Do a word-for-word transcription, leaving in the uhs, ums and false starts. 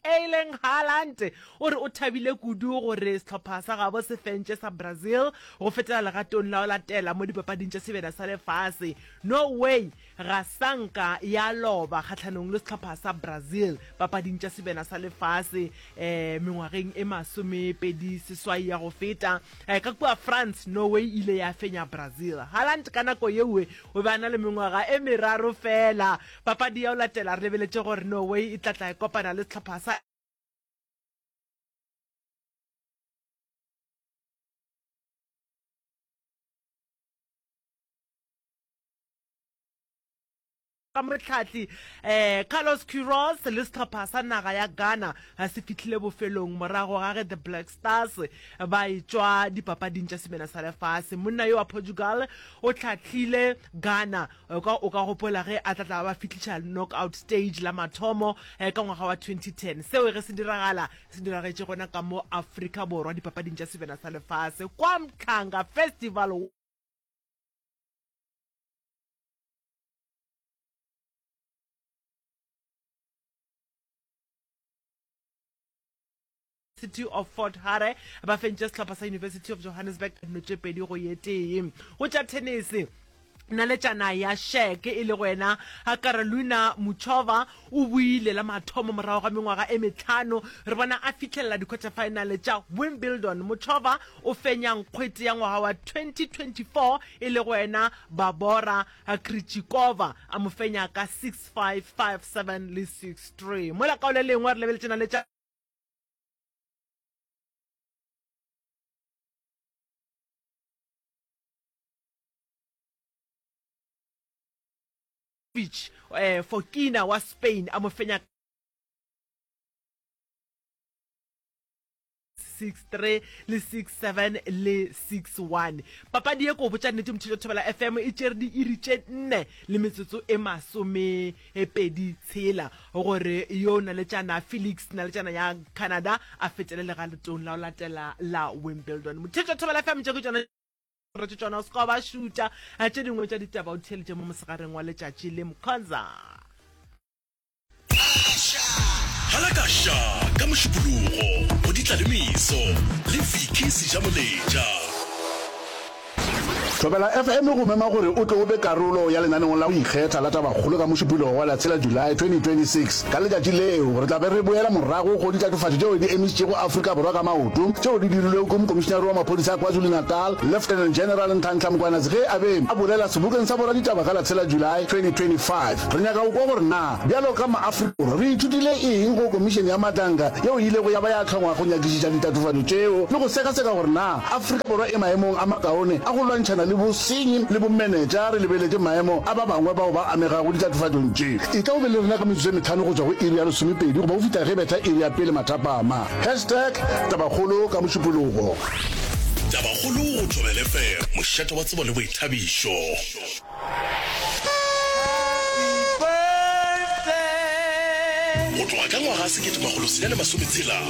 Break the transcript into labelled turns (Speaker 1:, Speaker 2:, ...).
Speaker 1: Erling Haaland o re o thabile kudu gore sehlopha sa gabo se fentše sa Brazil go fetela legatong la go latela mo dipapading tša Sebjana sa Lefase. Norway ga sa nka ya loba kgahlanong le sehlopha sa Brazil papading tša Sebjana sa Lefase mengwageng e masomepedi seswai ya go feta. Ka kua France, Norway e ile ya fenya Brazil. Haaland ka nako yeo o be a na le mengwaga e meraro feela. Papadi ya go latela re lebeletše gore Norway e tla tla e kopana le sehlopha sa Ka mohlahli Carlos Queiroz le sehlopha sa naga ya Ghana se fihlile bofelong morago ga ge The Black Stars ba etšwa dipapading tša Semena sa Lefase. Monna yo wa Portugal o hlahlile Ghana, o ka o ka gopola ge a tla tla ba fihliša knockout stage la mathomo ka ngwaga wa twenty ten. Seo ge se diragala se diragetše gona ka mo Afrika Borwa dipapading tša Sebjana sa Lefase kwa Mhlanga Festival. City of Fort Hare ba fentše sehlopha sa University of Johannesburg ka dino tše pedi go ye tee. Go tša thenese, naletšana ya Czech e lego yena Karolina Muchova o boile la mathomo morago ga mengwaga e mehlano re bona a fihlelela di-quarter-final tša Wimbledon. Muchova o fenya nkgwete ya ngwaga wa twenty twenty-four e lego yena Barbora Krejcikova a mo fenya ka six five, five seven le six three. Mola ka go le lengwe re lebeletše naletšana Fokina wa Spain a mo fenya six three le six seven le six one. Papadi ye ko botša nnete Motšhitšo Thobela F M e tšere diiri tše nne le metsotso e masomepedi tshela gore yo naletšana Felix naletšana ya Canada a fetele legatong la go latela la Wimbledon. Motšhitšo Thobela F M tše ke tšona re tše tšona o se ka ba šutša tše dingwe tša ditaba o theeletše mo mosegareng wa letšatši le Mkhonza.
Speaker 2: Halakaša ka Mošupologo go Ditlalemeso le Vicky Sejamoletša.
Speaker 3: Thobela F M e go mema gore o tle o be karolo ya lenaneong la go ikgetha la Tabakgolo ka Mošupologo wa la tshela July twenty twenty-six Ka letšatši leo, re tla be re boela morago go ditatofatšo tšeo di emišitšego Afrika Borwa ka maoto, tšeo di dirilwego ke Mokomišinare wa Maphodisa a KwaZulu-Natal, Lieutenant General Nhlanhla Mkhwanazi ge a be a bolela sebokeng sa boraditaba ka la tshela July twenty twenty-five Re nyaka go kwa gore na bjalo ka maAfrika Borwa re ithutile eng go Komišene ya Madlanga yeo e ilego ya ba ya hlongwa go nyakišiša ditatofatšo tšeo le go sekaseka gore na Afrika Borwa e maemong a makaone a go lwantšhana le bosenyi le bomenetša re lebeletše maemo a ba bangwe bao ba amegago ditatofatšong tše. Etla o be le rena ka metsotso e mehlano go tšwa go iri ya lesomepedi goba go fihla ge betha iri ya pele mathapama. Hashtag Tabakgolo ka Mošupologo.
Speaker 2: Tabakgolo go Thobela F M, mošate wa tsebo le boithabišo. Go tloga ka ngwaga sekete makgolo senyane masome tshela.